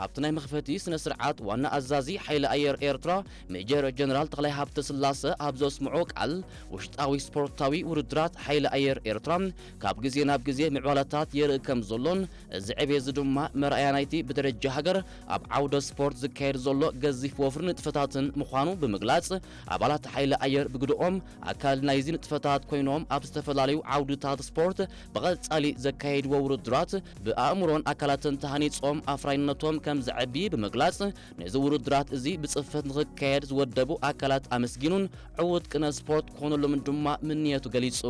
ኣብቲ ናይ መኽፈቲ ስነ ስርዓት ዋና ኣዛዚ ሓይሊ ኣየር ኤርትራ ሜጀር ጀነራል ተኽላይ ሃብተ ስላሰ ኣብ ዘስምዖ ቃል፣ ውሽጣዊ ስፖርታዊ ውድድራት ሓይሊ ኣየር ኤርትራ ካብ ግዜ ናብ ግዜ ምዕባለታት የርኢ ከም ዘሎን፣ እዚ ዕቤት እዚ ድማ መርኣያ ናይቲ ብደረጃ ሃገር ኣብ ዓውደ ስፖርት ዝካየድ ዘሎ ገዚፍ ወፍሪ ንጥፈታትን ምዃኑ ብምግላጽ፣ ኣባላት ሓይሊ ኣየር ብግድኦም ኣካል ናይዚ ንጥፈታት ኮይኖም ኣብ ዝተፈላለዩ ዓውድታት ስፖርት ብቐጻሊ ዘካየድዎ ውድድራት ብኣእምሮን ኣካላትን ተሃኒጾም ኣፍራይነቶም ከም ዘዕቢ ብምግላጽ፣ ነዚ ውድድራት እዚ ብጽፈት ንኽካየድ ዝወደቡ ኣካላት ኣመስጊኑን ዕዉት ቅነ ስፖርት ክኾነሎምን ድማ ምንየቱ ገሊጹ።